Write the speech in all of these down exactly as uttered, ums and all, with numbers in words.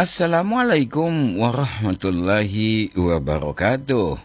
Assalamualaikum warahmatullahi wabarakatuh.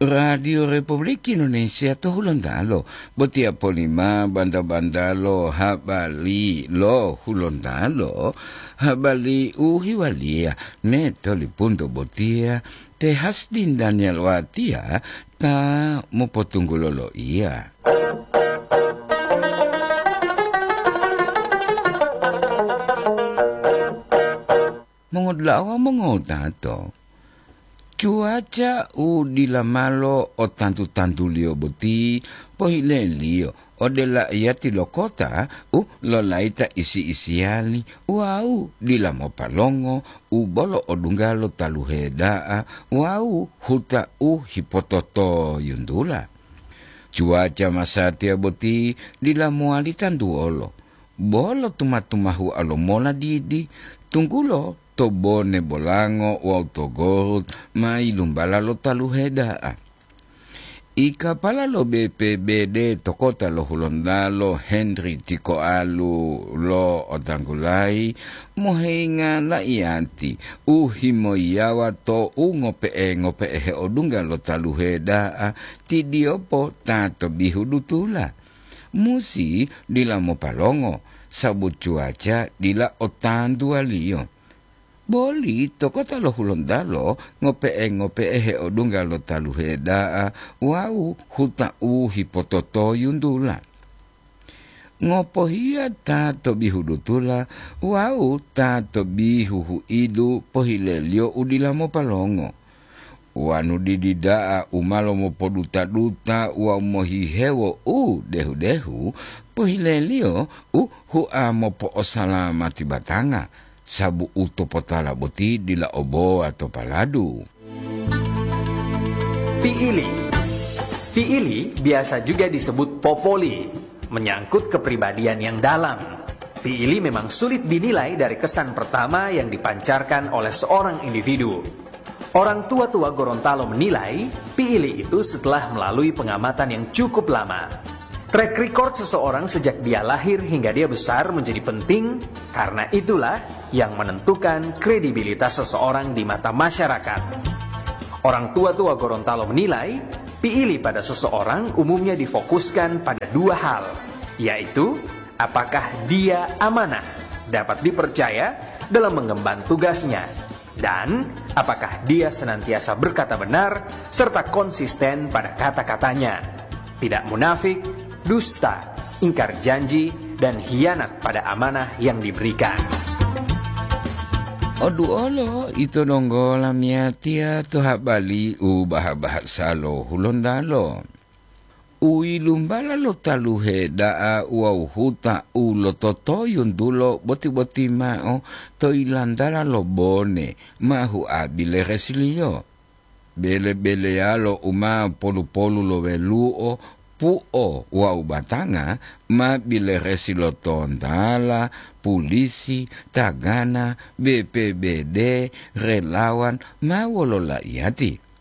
Radio Republik Indonesia to Hulontalo, botiya polima banta-bantalo habari lo Hulontalo, habari u hiwaliya me to lipunto botiya, te Hasdin Daniel Watiya ta mopotunggulo loiya. Mongodula'a wawu mongotato, cuaca u dila malo o tantu-tantuliyo boti pohileliyo ode la'iyati lo kota u lolayita isi-isiyali wawu dila mopalongo u bolo odungga lo taluhe da'a wawu huta u hipototoyuntula. Cuaca masatiya boti dila mowali tantuwolo, bolo tuma-tumahua lomola didi, tunggulo to Bone Bolango wawu to Gorut ma yilumbala lo taluhe da'a. Ikapala lo B P B D to kota lo Hulontalo Henry Tikoalu lo otanggulayi mohenga la'iyati u himoyiyawa to u ngope'e-ngope'e heodungga lo taluhe da'a, tidiyopo ta to bihu dutula. Musi dila mopalongo, sabu cuaca dila o tantuwaliyo. Boli to kota lo Hulontalo ngope'e-ngope'e heodungga lo taluhe da'a wawu huta u hipototoyuntula. Ngopohiya ta to bihu dutula wawu ta to bihu huidu pohileliyo u dila mopalongo. Wonu didi da'a u ma lomopoduta-duta wawu mohihewo u dehu-dehu, pohileliyo u hua mopo'osalamati batanga, sabu u topotala boti dila obowa to paladu. Piili. Piili biasa juga disebut popoli, menyangkut kepribadian yang dalam. Piili memang sulit dinilai dari kesan pertama yang dipancarkan oleh seorang individu. Orang tua-tua Gorontalo menilai, piili itu setelah melalui pengamatan yang cukup lama. Track record seseorang sejak dia lahir hingga dia besar menjadi penting, karena itulah yang menentukan kredibilitas seseorang di mata masyarakat. Orang tua-tua Gorontalo menilai, piili pada seseorang umumnya difokuskan pada dua hal, yaitu apakah dia amanah, dapat dipercaya dalam mengemban tugasnya, dan apakah dia senantiasa berkata benar serta konsisten pada kata-katanya, tidak munafik, dusta, ingkar janji, dan hianat pada amanah yang diberikan. Oduolo ito donggo lamiyatiya to habali u baha-bahasa lo Hulontalo. U yilumbala lo taluhe da'a wawu huta u lototoyuntulo boti-boti mao to yilantala lo Bone ma hua bileresiliyo. Bele-beleyalo u ma polu-polu lo welu'o, pu'o wawu batanga ma bileresi lo tontala, pulisi, tagana, B P B D, relawan, ma wolo laiyati.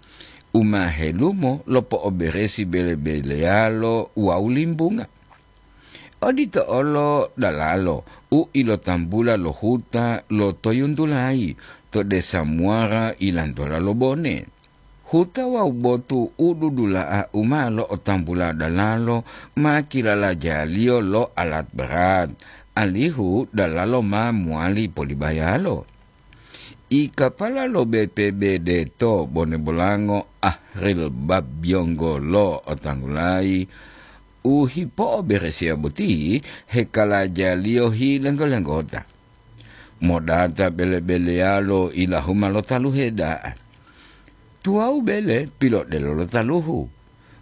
U ma helumo lopo'oberesi bele-beleyalo wawu limbunga. Odito olo dalalo u ilotambula lo huta lo toyuntulayi to desa Muara ilantola lo Bone. Huta wawu botu u dudula'a u ma lo'otambula dalalo ma kilalajaliyo lo alat berat, alihu dalalo ma mowali polibayalo. Ikapala lo B P B D to Bone Bolango, Ahril Babyonggolo otanggulayi, u hipo'oberesiya boti hekalajaliyo hilenggo-lenggota. Modata bele-beleyalo ilahuma lo taluhe da'a. Tuwawu bele pilodelo lo taluhu.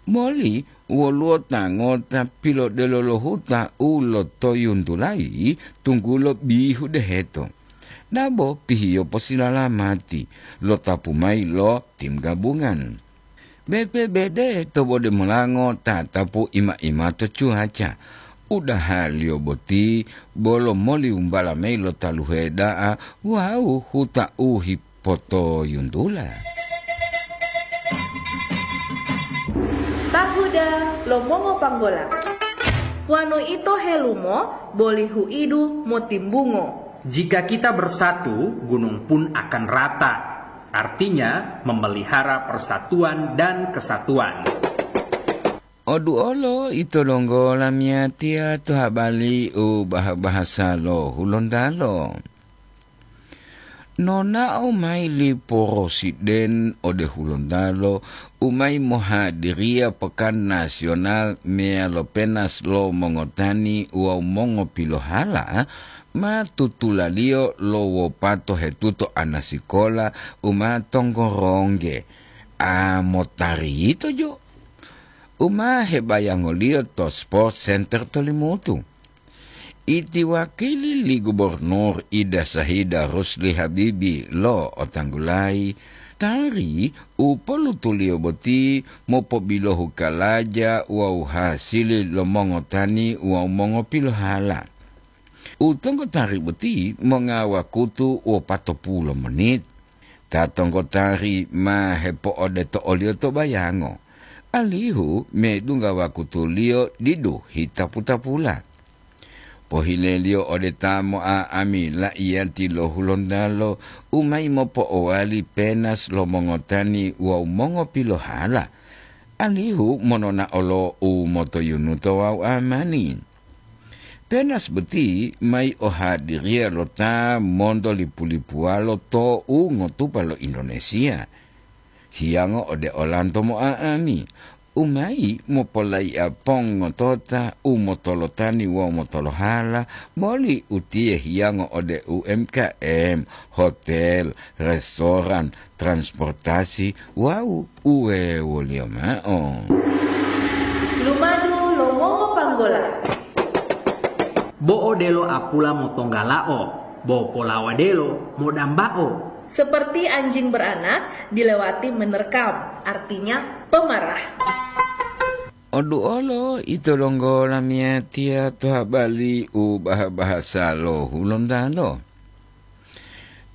Moli woluwo ta ngota pilodelo lo huta u lotoyuntulayi tunggulo bihu deheto. Dabo pihiyo posilalamati, lotapu mayi lo tim gabungan. B P B D to Bone Bolango tatapu ima-ima to cuaca. Udahaliyo boti bolo moli wumbala mayi lo taluhe da'a wawu huta u hipotoyuntula. Tahuda lo mongopanggola. Wonu ito helumo, boli huidu motimbungo. Jika kita bersatu, gunung pun akan rata. Artinya, memelihara persatuan dan kesatuan. Oduolo ito donggo lamiyatiya to habari u bah-bahasa lo Hulontalo. Nonao mayi li Porosiden ode Hulontalo u mayi mohadiriya Pekan Nasional meyalo Penas lo Mongotani wawu Mongopilohala, ma tutulaliyo lo wopato hetuto anasikola u ma tongorongge, a motari yito jo, u ma hebayangoliyo to Sport Center to Limutu. Iti wakili li Gubernur Ida Sahida Rusli Habibi lo otanggulayi, tari u polutuliyo boti mopobilohu kalaja wawu hasili lo mongotani wawu mongopilohala. U tonggotari boti monga wakutu wopatopulu monit. Ta tonggotari ma hepo'odeto oliyo to bayango, alihu medungga wakutuliyo didu hitapu-tapula. Pohileliyo ode ta mo'a'ami la'iyati lo Hulontalo u mayi mopo'owali penas lo mongotani wawu mongopilohala, alihu mononao lo u motoyunuto wawu amani. Penas boti mayi ohadiriya lo ta monto lipu-lipuwalo to u ngotupa lo Indonesia. Hiyango ode olanto mo'a'ami, u mayi mopolaiya pongotota u motolotani wawu motolohala, boli utiye hiyango ode U M K M, hotel, restoran, transportasi, wawu uwewoliyo mao. Lumadu lo mongopanggola. Bo odelo apula motonggalao, bo polawadelo modambao. Seperti anjing beranak dilewati menerkam, artinya pemarah. Oduolo ito donggo lamiyatiya to habari u bah-bahasa lo Hulontalo.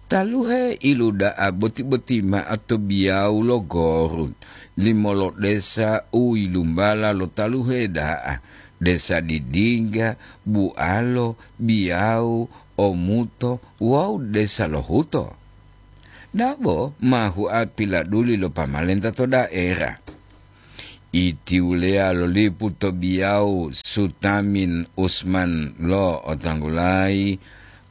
Taluhe iluda'a boti-boti ma'o to biyawu lo Gorut, limolo desa u yilumbala lo taluhe da'a, desa Didingga, Bualo, Biyawu, Omuto wawu desa Lohuto. Dabo ma hua piladuli lo pamalenta to daera. Itiwuleya lo lipu to biyawu Sutamin Usman lo otanggulayi,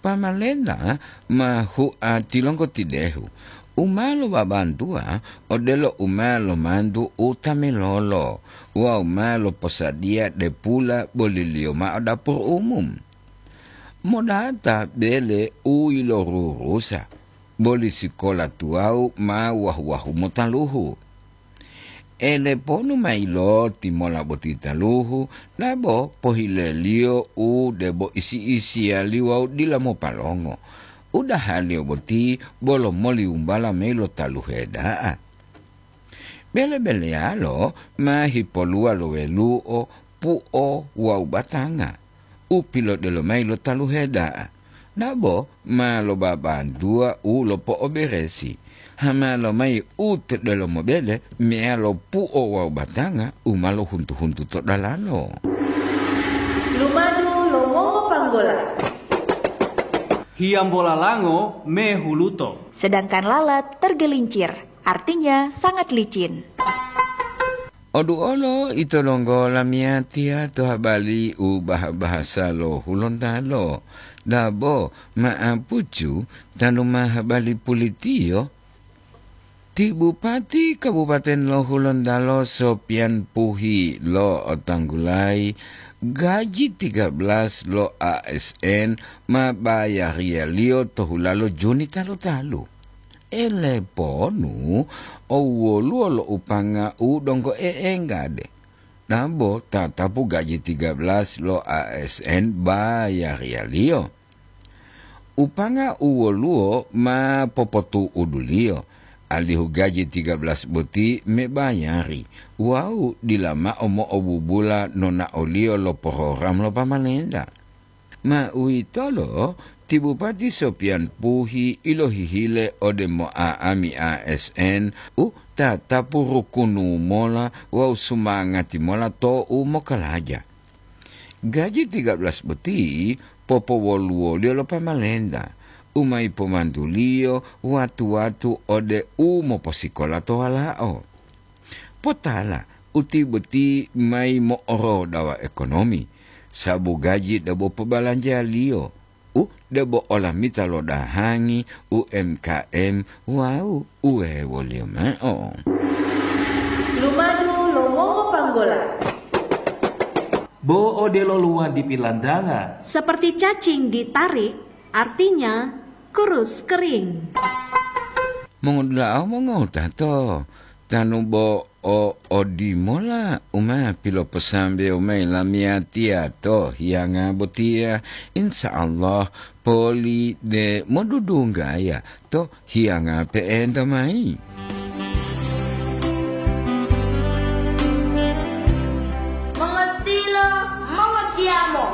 pamalenta ma hua tilonggo tidehu, u ma lobabantuwa odelo u ma lomantu u tamelolo wawu ma loposadiya depula boliliyo mao dapur umum. Modata bele u yilorurusa, boli sikola tuwawu ma wahu-wahu motaluhu. Eleponu mayi lo timola boti taluhu, dabo pohileliyo u debo isi-isiyali wawu dila mopalongo. Udahaliyo boti bolo moliwumbala mayi lo taluhe da'a. Bele-beleyalo ma hipoluwa lo welu'o, pu'o wawu batanga u pilodelo mayi lo taluhe da'a. Dabo ma lobabantuwa u lopo'oberesi, hama lomayi u to delomo bele meyalo pu'o wawu batanga u ma lohuntu-huntu to dalalo. Lumadu lo mongopanggola. Hiyambola lango mehuluto. Sedangkan lalat tergelincir, artinya sangat licin. Oduolo ito donggo lamiyatiya to habari u bah-bahasa lo Hulontalo. Dabo ma'apucu tanu ma habari pulitiyo. Ti Bupati Kabupaten lo Hulontalo Sopian Puhi lo otanggulayi gaji tiga belas lo A S N ma bayariyaliyo to hulalo Juni talu-talu. Eleponu o woluwo lo upanga u donggo e'engade, dabo tatapu gaji tiga belas lo A S N bayariyaliyo. Upanga u woluwo ma popotu'uduliyo, alihu gaji tiga belas boti mebayari wawu dila mao mo'obubula nonaoliyo lo porogram lo pamalenta. Ma uwitolo ti Bupati Sopian Puhi ilohihile ode mo'a'ami A S N u tatapu rukunu mola wawu sumangati mola to u mokalaja. Gaji tiga belas boti popowoluwoliyo lo pamalenta, u ma yipomantuliyo watu-watu ode u moposikola to walao. Potala uti boti mayi mo'orodawa ekonomi, sabu gaji debo pobalanjaliyo, u debo olamita lo dahangi U M K M wawu uwewoliyo mao. Lumadu lo mongopanggola. Bo odelo luwadi pilantanga. Seperti cacing ditarik, artinya kurus kering. Mongodula'a mongowutato, tanu bo o odimola u ma piloposambewo mayi lamiyatiya to hiyanga botiya, insya Allah poli de modudunggaya to hiyanga pe'enta mayi. Mongotilo, mongotiyamo,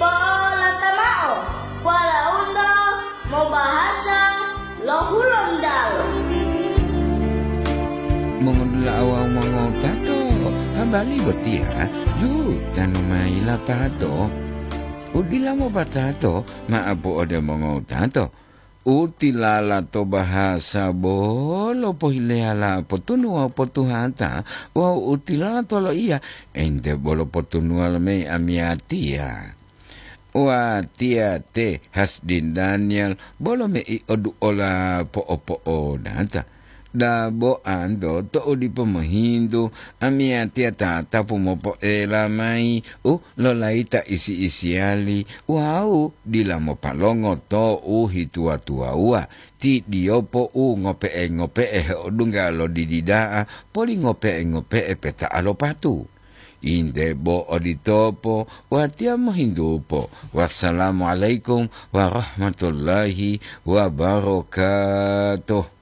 po'olata mao, walaundo mobahasa lo Hulontalo. Mongodula'a wawu mongotato, habari botiya yu tanu mayi lapato. U dila mopatato ma'apu ode mongotato. U tilala to bahasa bolo pohileyala potunu wawu potuhata, wawu u tilala to loiya ente bolo potunuwa lomeyi amiyatiya. Watiya te Hasdin Daniel bolo mei oduola po'opo'odata. Dabo anto to'u dipo mohintu, amiyatiya tatapu mopo'ela mayi u lolayita isi-isiyali wawu dila mopalongo to u hituwa-tuwawuwa, ti diyopo u ngope'e-ngope'e heodungga lo didi da'a poli ngope'e-ngope'e peta'a lo patu. Inde bo oditopo, watiya mohintupo. Wassalamualaikum warahmatullahi wabarakatuh.